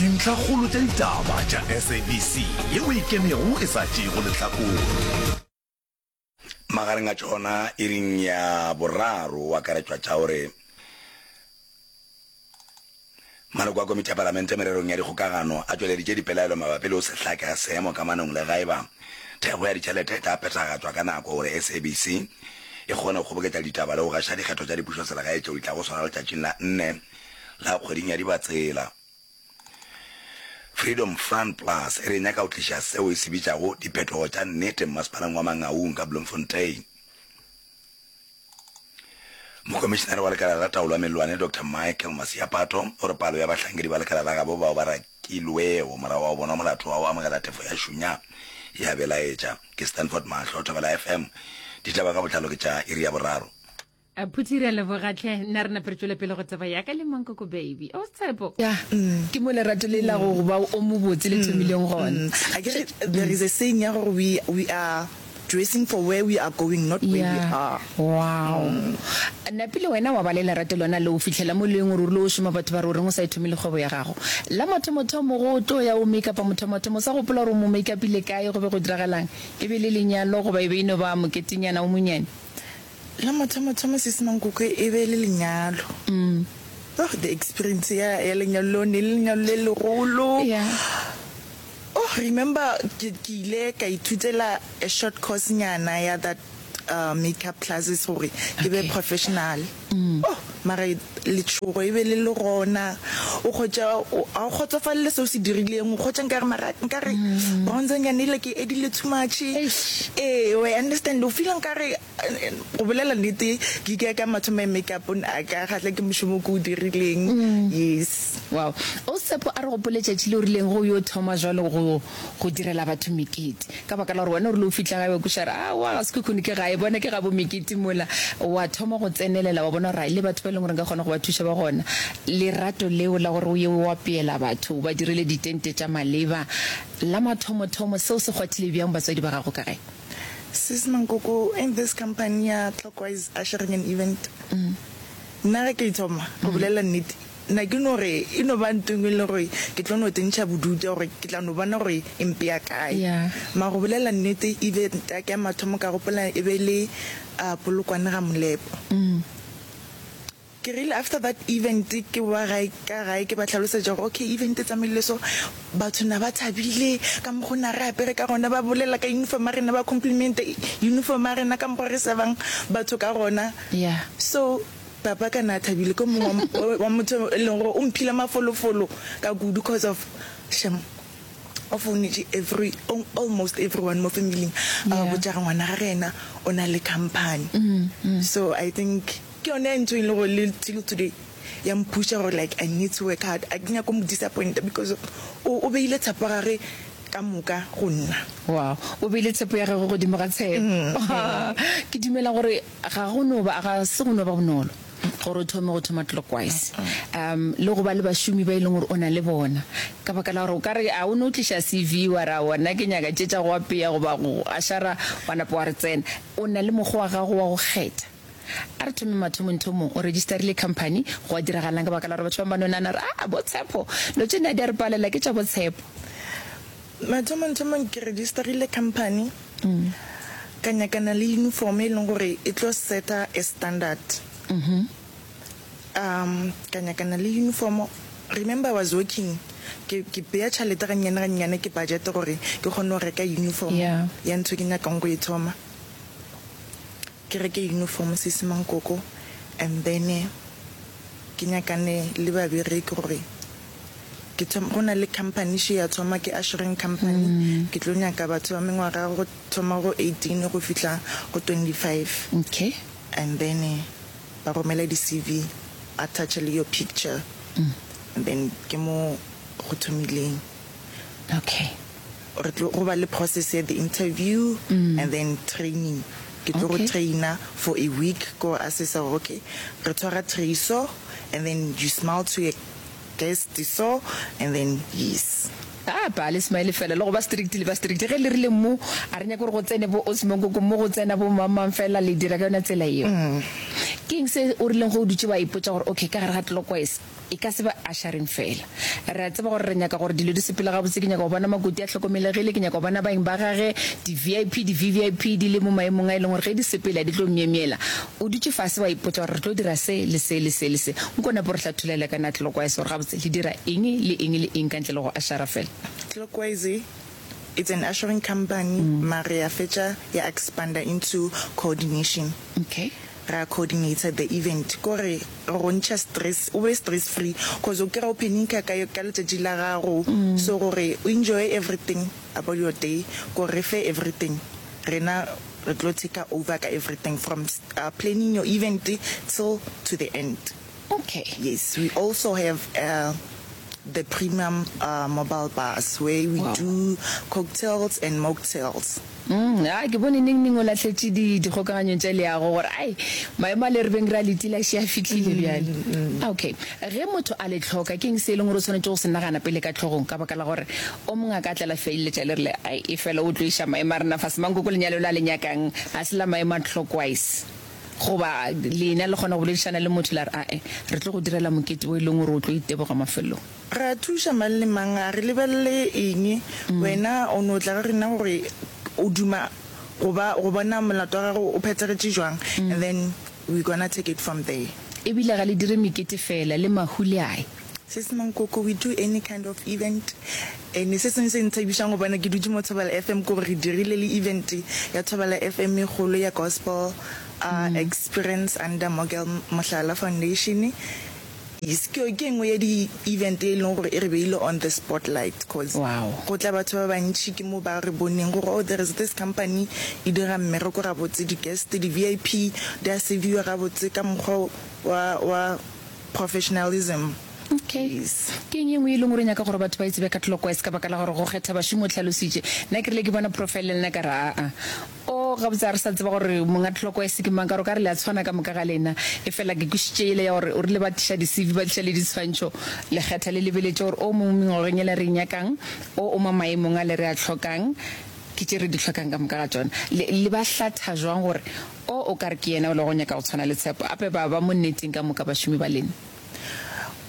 Dintlhakgolo tša ditaba tša SABC yeo e kenego e sa tšeego lehlakore. Magareng a tšona iring ya boraro o akaretšwa tša gore maloko a komiti ya palamente mererong ya dikgokagano a tšweleditše dipelaelo mabapi le go se hlake ga seemo kamanong le gaeba thekgo ya ditšhelete e tla phethagatšwa ka nako gore SABC e kgone go kgoboketša ditaba le go gaša dikgetho tša dipušoselegae tšeo di tlago swara letšatšing la nne la kgweding ya Dibatsela. Freedom Front Plus e re e nyaka go tliša seo e se bitšago diphetogo tša nnete mmasepaleng wa Mangaung ka Bloemfontein. Mokomišenare wa lekala la taolo ya mellwane Doctor Michael Masiapato o re palo ya bahlankedi ba lekala la gabo bao ba rakilwego morago ga go bonwa molato wa go amogela tefo ya šunya e a belaetša. Ke Stanford Mahlo, Thobela FM. Ditaba ka botlalo ke tša iri ya boraro. A Phuthi re a leboga tlhe nna re nape re tšwele pele go tseba ya ka le Mankoko baby o Tshepo. Ya, ke mo lerato le la go ba o mobotse le thomileng gona. Akere there is a saying ya gore we we are dressing for where we are going not where we Yeah. are. Wow. Napile wena wa ba le lerato lona leo fihlela mo leng gore o rile o šoma batho ba re o reng o sa ithomele kgwebo ya gago. La mathomothomo go tlo ya o make-upa mothomathomo o sa gopola gore o mo make-upile kae go be go diragalang? E be e le lenyalo goba e be e no ba moketenyana o monyane? La mathomothomo Sisi Mankoko e be e le lenyalo. Oh, the experience ya, ya lenyalo leo ne e le lenyalo le legolo. Yeah. Oh, remember ke, ke ile ka ithutela a short course nyana ya that uh, makeup classes gore ke be Okay. professional. Oh, mara letšhogo e be le le gona. O kgotša, o, ga o kgotsofalele se o se dirileng, o kgotša nkare mara nkare bronzer nyana ele ke edile too much. Eish. Ee, wa e understand, o feela nkare go bolela nnete ke ke ka mathomo ya makeup a ka kgahla ke mošomo ke o dirileng. Yes. Wow. O Tshepo a re gopole tšatši le o rileng go yo thoma jwalo go go direla batho mekete. Ka baka la gore wena o rile o fihla gae wa kweša re aowa ga Sekhukhune ke gae bona ke gabo mekete mola. Wa thoma go tsenelela wa bona gore ai le batho ba e leng gore nka kgona go ba thuša ba gona. Lerato leo la gore o ye o apeela batho o ba direle ditente tša maleba la mathomothomo seo se kgwathile bjang batswadi ba gago ka gae? Sis Mankoko, in this company ya Clockwise Ushering and Event, nna ge ke e thoma, go bolela nnete, na ke no re e no ba ntho engwe e leng gore ke tlo no tsentšha bodutu ya gore ke tla no bona gore e mpea kae. Mara go bolela nnete, event ya ka ya mathomo ka gopola e be e le Polokwane ga Molepo. Ke rile after that event ke boa gae ka gae ke ba hlalosetša gore okay event e tsamaile so, batho na ba thabile ka mokgo na re apere ka gona, ba bolela ka uniform ya rena, ba complimenta uniform ya rena ka mokgo re servang batho ka gona. So papa ka na thabile, ke o mongwe wa motho e leng gore o mphile mafolofolo ka kudu cause of shem o founetše every almost everyone mo familing a ba botša gore ngwana gage yena o na le company. So I think Ke yone ntho e leng gore le till today ya mpusha gore like I need to work hard, a ke nyake go mo disappointa because o o beile tshepo ya gage ka moka go nna. Wow, o beile tshepo ya gagwe godimo ga tshepo. Ke dumela gore ga go no ba, ga se go no ba bonolo gore o thome go thoma Clockwise, um le go ba le bašomi ba e leng gore o na le bona, ka baka la gore o ka re a o no tliša CV wa re aowa nna ke nyaka tše tša go apea goba go ašara wa napa wa re tsena. O na le mokgwa wa gago wa go kgetha. A re thome mathomongthomong, o registerile company, gwa diragalang ka baka la gore batho ba bangwe ba no nagana gore aa bo Tshepo, dilo tše nna di a re palela ke tša bo Tshepo. Mathomongthomong ke registerile company, ka nyakana le uniform e leng gore e tlo seta a standard. Um ka nyakana le uniform, remember I was working, ke ke bea tšhalete gannyane gannyane ke budget gore ke kgone go reka uniform ya ntho e ke nyakang go e thoma. Ke reke uniform sesi Mankoko and then ke nyakane le babereki gore ke thome, go na le company še ya thoma ke ushering company, ke tlo nyaka batho ba mengwaga go thoma go 18 go fihla go 25. Okay. And then ba romele di CV attach le your picture and then ke mo go thomileng. Okay. Re tlo go ba le process ya the interview and then training. Ke tlo go trainer for a week ko assessa gore okay re tshwara tray so and then you smile to a guest so and then yes. A pa le smile fela le go ba strict le ba strict ge le rile mo a re nyake gore go tsene bo Osmo Nkoko mo go tsena bo mang mang fela le dira ka yona tsela yeo. Ke eng se o rileng ge o dutše wa ipotša gore okay ka gare ga Clockwise e ka se be ushering fela? Re a tseba gore re nyaka gore dilo di sepele gabotse, ke nyaka go bona makoti a hlokomelegile, ke nyaka go bona baeng ba gage, di-VIP, di-VVIP di le mo maemong a e leng gore ge di sepela di tlo myemyela. O dutše fase wa ipotša gore re tlo dira se le se le se le se. Nko nape o re hlatholele ka na Clockwise gore gabotse le dira eng le eng le eng ka ntle le go ushera fela? Clockwise it's an ushering company mare ya fetša ya expander into coordination. Okay. Ra coordinator the event ko re re go ntšha stress o be stress free cause o kry-a o panicker ka ka letšatši la gago so gore o enjoy everything about your day ko re fe everything rena re tlo taker over ka everything from planning your event till to the end. Okay. Yes we also have the premium mobile bars where we Wow. do cocktails and mocktails. Mm, a ke bone neng neng o lahletše di dikgokaganyong tša leago gore ai maemo a le re beng re a letile a še a fihlile bjale. Okay, ge motho a le hloka ke eng se e leng gore o swanetše go se nagana pele ka hlogong ka baka la gore o mongwe a ka tla la feleletša le rile ai efela o tlo iša maemo a rena fase mankoko lenyalo le a le nyakang ga se la maemo a clockwise. Goba lena le kgona go boledišana le motho la re, Ae, re tlo go direla mokete wo e leng gore o tlo iteboga mafelong. Re a thuša mang le mang, a re lebelele eng. Wena o no tla go rena gore o duma go ba, go bona molato wa gago o phethagetše jwang, and then we gonna take it from there. Ebile ga le dire mekete feela, le mahu le a ya. Sis Mankoko, we do any kind of event and se sengwe se nthabišang go bona ke dutše mo Thobela FM ke gore re dirile le event ya Thobela FM e kgolo ya gospel uh, experience under Mogel Mohlala Foundation. Yes, ke ke engwe ya di event e leng gore e re beile on the spotlight cause Wow. go tla batho ba bantši ke mo ba re boneng gore oh there is this company e dira mmereko gabotse, di guest, di VIP di a serviwa gabotse ka mokgwa wa wa Professionalism. Okay. Yes. Ke eng e nngwe e leng gore o nyaka gore batho ba e tsebe ka Clockwise ka baka la gore go kgetha bašomi o hlalositše. Nna ke rile ke bona profile le nna ka re aa. O gabotse ga re sa tseba gore monga Clockwise ke mang ka gore o ka re le a tshwana ka moka ga lena. Efela ke kwešišitše yela ya gore o rile ba tliša di-CV ba tliša le diswantšho le kgetha le lebeletše gore o mo mengwageng yela re e nyakang, o o mo maemong a le re a hlokang. Ke tše re di hlokang ka moka ga tšona. Le, le ba hlatha jwang gore O, o ka re ke yena o le go nyaka go tshwana le Tshepo? Ape ba ba mo nneteng ka moka bašomi ba lena?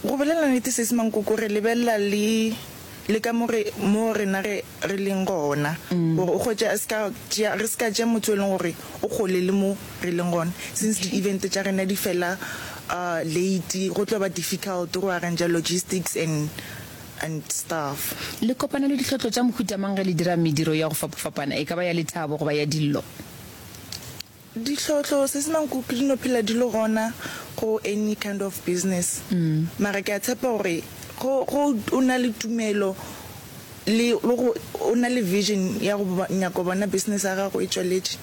Go bolela nnete Sesi Mankoko, re lebelela le, le ka mo re, mo rena re, re leng gona. Gore o hwetše a se ka tšea, re se ka tšea motho e leng gore o kgole le mo re leng gona. Since di event tša rena di fela late, go tlo ba difficult go arranger logistics and and stuff. Le kopana le ditlhotlo tša mohuta mang ge le dira mediro ya go fapafapana, e ka ba ya lethabo goba ya dillo? Ditlhotlo, se se nang kuku di no phela di le gona go any kind of business. Mara ke a tshepa gore go go o na le tumelo le le go o na le vision ya go nyaka go bona business ya gago e tšweletše.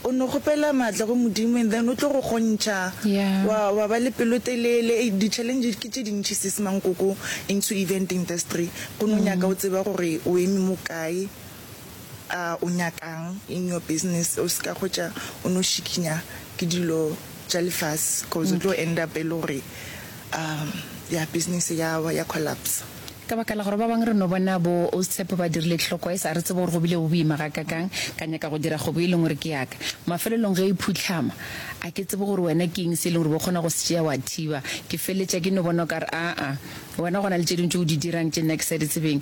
O no kgopela maatla go Modimo and then o tlo go kgontšha wa wa ba le pelotelele. Di challenge ke tše dintši sis Mankoko into event industry. Go no nyaka o tseba gore o eme mo kae, o nyakang in your business. O se ka hwetša o no šikinya ke dilo tša lefase cause o tlo end up e le gore ya business ya wa ya collapse. Ka baka la gore ba bangwe re no bona bo Tshepo ba dirile clockwise, a re tsebe gore go bile go boima gakakang, ka nyaka go dira kgwebo e leng gore ke ya ka. Mafelelong ge e phuhlama, a ke tsebe gore wena ke eng se e leng gore bo kgona go se tšea wa thiba. Ke feleletša ke no bona o ka re aa, wena go na le tše dingwe tše o di dirang tše nna ke sa di tsebeng.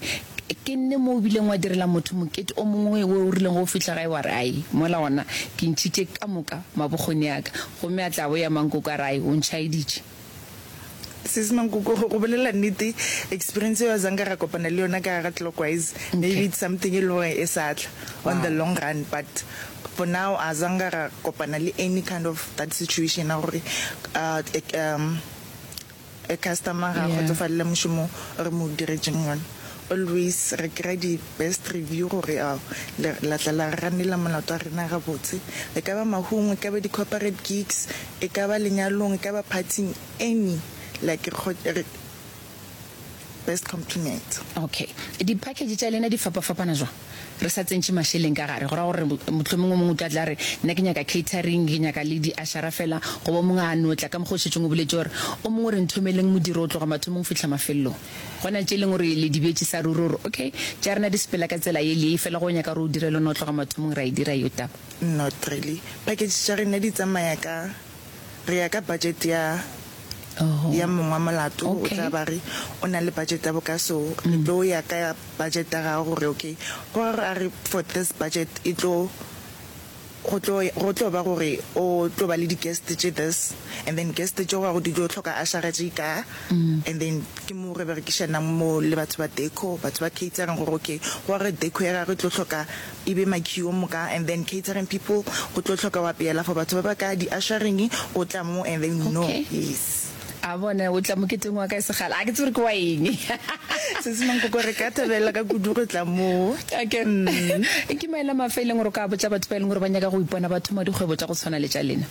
Ke nne mo o bileng wa direla motho mokete o mongwe wo o rileng ge o fihla gae wa re ai, mola gona ke ntšhitše ka moka mabokgoni a ka. Gomme a tla boya Mankoko a re ai, o ntšhaeditše. Sis Mankoko, go bolela nnete, experience eo azanka ra kopana le yona ka gare Clockwise, maybe it's something e le gore e sa tla on the long run, but for now azanka ra kopana le any kind of that situation ya gore a customer ga a kgotsofalele mošomo o re mo diretšeng ona. Always re kry-a di best review gore ao la tla la ranela molato wa rena gabotse. E ka ba mahung, e ka ba di corporate gigs, e ka ba lenyalong, e ka ba partying, any like re. best compliment. Okay. Di-package tša lena di fapafapana jwang? Re sa tsentše mašeleng ka gare, go ra gore mohlomongwe o mongwe o tla tla re, nna ke nyaka catering, ke nyaka le di-ushera fela, goba o mongwe a no tla ka mokgwa o šetšeng o boletše gore o mongwe o re nthomeleng modiro go tloga mathomong go fihla mafelelong. Go na tše e leng gore le di beetše sa ruri gore okay, tša rena di sepela ka tsela ye le ye, fela ge o nyaka gore o direle no tloga mathomong ra e dira yeo taba. Not really. Package tša rena di tsamaya ka, re ya ka budget ya ya mong wa molato, o tla ba re o na le budget ya boka so, re tlo ya ka budget ya gagwe gore okay, go ra gore a re for this budget e tlo, go tlo, go tlo ba gore o tlo ba le di guest tše this and then guest tše go di tlo hloka ushera tše ka and then ke mo re berekišanang mo le batho ba deco, batho ba catering gore okay, go ra gore deco ya gagwe e tlo hloka e be makhio moka and then catering people go tlo hloka wa peela for batho ba ba ka di ushering o tla mo and then we know Okay. yes. A bona o tla moketeng wa ka e segala a ke tsebe gore ke wa eng. Sesi Mankoko re ka thabela ka kudu go tla mo. Okay. Ke maele a mafe e leng gore o ka botša batho ba e leng gore ba nyaka go ipona ba thoma dikgwebo tša go tshwana le tša lena?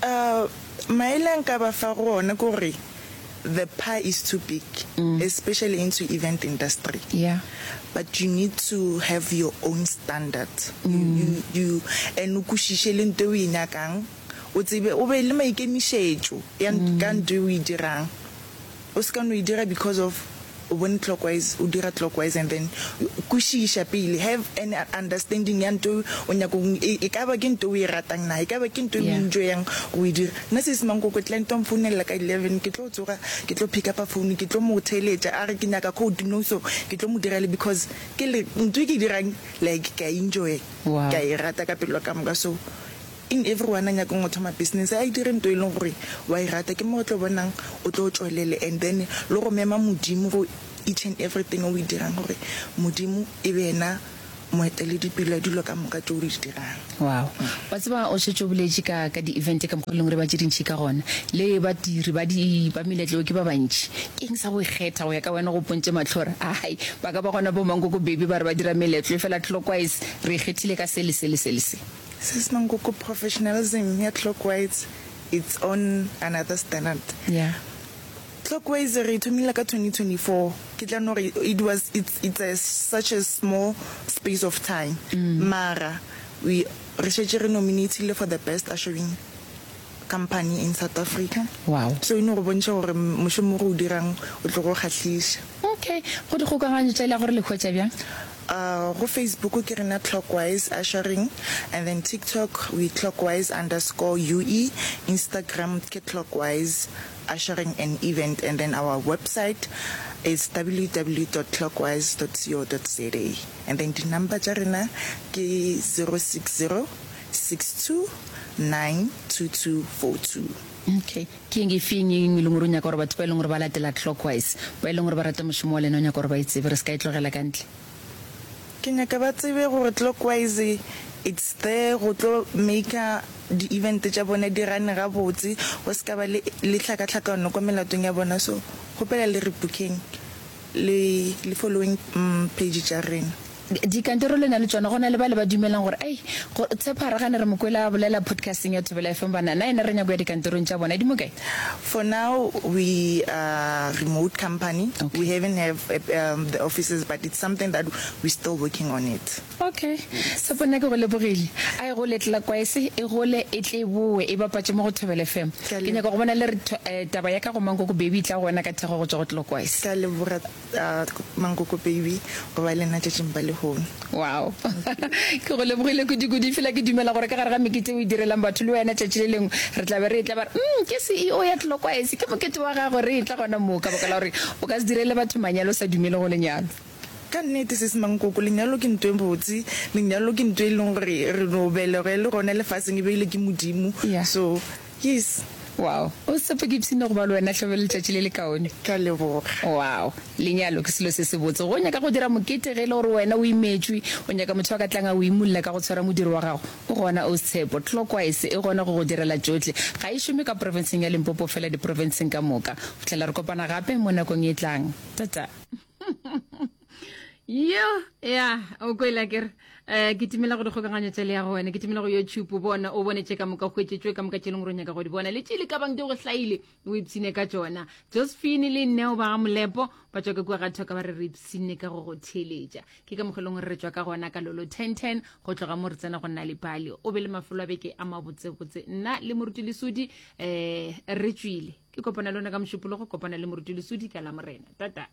Uh, maele a nka ba fa go ona ke gore the pie is too big, especially into event industry. Yeah. But you need to have your own standard. You, you, you, and o kwešiše le nto e o e nyakang, o tsebe, o be le maikemišetšo ya ka nto e o e dirang. O se ka no e dira because of o bone clockwise, o dira clockwise and then kwešiša pele, have an understanding ya nto o nyaka go e, e ka ba ke nto o e ratang na, e ka ba ke nto o enjoyang go e dira. Nna Sesi Mankoko client wa mfounela ka 11, ke tlo tsoga, ke tlo pick up-a phone, ke tlo mo theeletša a re ke nyaka code no so ke tlo mo direla because ke le nto e ke e dirang like ke a enjoy, ke a e rata ka pelo ka moka so In everyone a nyakang go thoma business a e dire nto e leng gore wa e rata ke mo o tlo bonang o tlo tšwelele and then le go mema Modimo go each and everything o e dirang gore Modimo e be yena moeteledipele wa dilo ka moka tšeo o di dirang. Wow. Wa tseba o šetše o boletše ka ka di event ka mokgwa e leng gore ba tše dintši ka gona le badiri ba di ba meletlo ke ba bantši. Ke eng sa go ikgetha go ya ka wena go pontše mahlo gore ai ba ka ba gona bo Mankoko baby ba re ba dira meletlo efela clockwise re ikgethile ka se le se le se le se. Sis Mankoko professionalism ya Clockwise it's on another standard. Yeah. Clockwise re thomile ka 2024 ke tla no re it was it's it's a such a small space of time mm. mara we re šetše re nominatile for the best ushering company in South Africa. Wow. So e no go bontšha gore mošomo go o dirang o tlo go kgahliša. Okay, go dikgokaganyo tša le gore le hwetša bjang? Go Facebook ke rena Clockwise Ushering and then TikTok we Clockwise underscore UE, Instagram ke Clockwise Ushering and Event and then our website is www dot clockwise dot co dot za and then di number tša rena ke 060 62 92242. Okay, ke eng efeng e leng gore o nyaka gore batho ba e leng gore ba latela Clockwise, ba e leng gore ba rata mošomo wa lena o nyaka gore ba e tsebe, re se ka e tlogela ka ntle? Ke nyaka ba tsebe gore Clockwise it's there go tlo maker di event tša bona di run gabotse, go se ka ba le le hlakahlakano kwa melatong ya bona, so kgopela le re bookeng le le following page tša rena. Dikantoro le na le tšona, go na le bale ba dumelang gore, Ai, go, Tshepo a re gane re mo kwele a bolela podcasting ya Thobela FM, banna, na yena re nyako ya dikantorong tša bona, di mo kae? For now we are remote company, okay. We haven't have um, the offices but it's something that we still working on it. Okay, Tshepo nna ke go lebogile, a e gole Tlelakwaese, e gole e tle e bowe e bapatše mo go Thobela FM. Ke nyaka go bona le re eh, taba ya ka go Mankoko Baby e tla go wena ka thekgo go tšwa go Tlelakwaese. Ke a leboga. Mankoko baby go ba le nna tšatšing ba lehono. Wow. Ke go lebogile kudu-kudu. Efela ke dumela gore ka gare ga mekete o e direlang batho le wena tšatši le lengwe re tla be re etla ba re, Umm, ke CEO ya Tlokwaese, ke mokete wa gagwe, re etla gona moo ka baka la gore o ka se direle batho manyalo o sa dumele go lenyalo. Ka nnete sesi Mankoko, lenyalo ke nto e botse, lenyalo ke nto e leng gore re no belegwa e le gona lefaseng, e beilwe ke Modimo. Yeah. So, Yes. Wow. O Tshepo ke ipshine go ba le wena hle be letšatši le lekaone. Ke a leboga. Wow. Lenyalo ke selo se sebotse. Go nyaka go dira mokete ge e le gore wena o imetšwe, o nyaka motho a ka tlang a o imulla ka go tshwara modiro wa gago, o gona o Tshepo. Clockwise e gona go go direla tšohle. Ga e šome ka profenseng ya Limpopo fela diprofenseng ka moka. Go fihlela re kopana gape mo nakong e tlang. Tata. Yo, ya, o kwele ke re eh ke timela go dikgokaganyo tša leago wena, ke timela go YouTube o bona o bone tše ka moka hwetše tšwe ka moka tše leng gore o nyaka go di bona le tše le ka bang di go hlaile o ipshine ka tšona. Josephine le Neo ba ga Molepo ba tšwa ka kua ga Thoka ba re re ipshine ka go go theeletša. Ke ka mokgwa e leng gore re tšwa ka gona ka lolo 1010 go tloga mo re tsena go nna le pale. O be le mafelo a beke a mabotsebotse. Nna le Moruti Lesodi eh re tšwile. Ke kopana le lona ka Mošupologo, kopana le Moruti Lesodi ka Lamorena. Tata.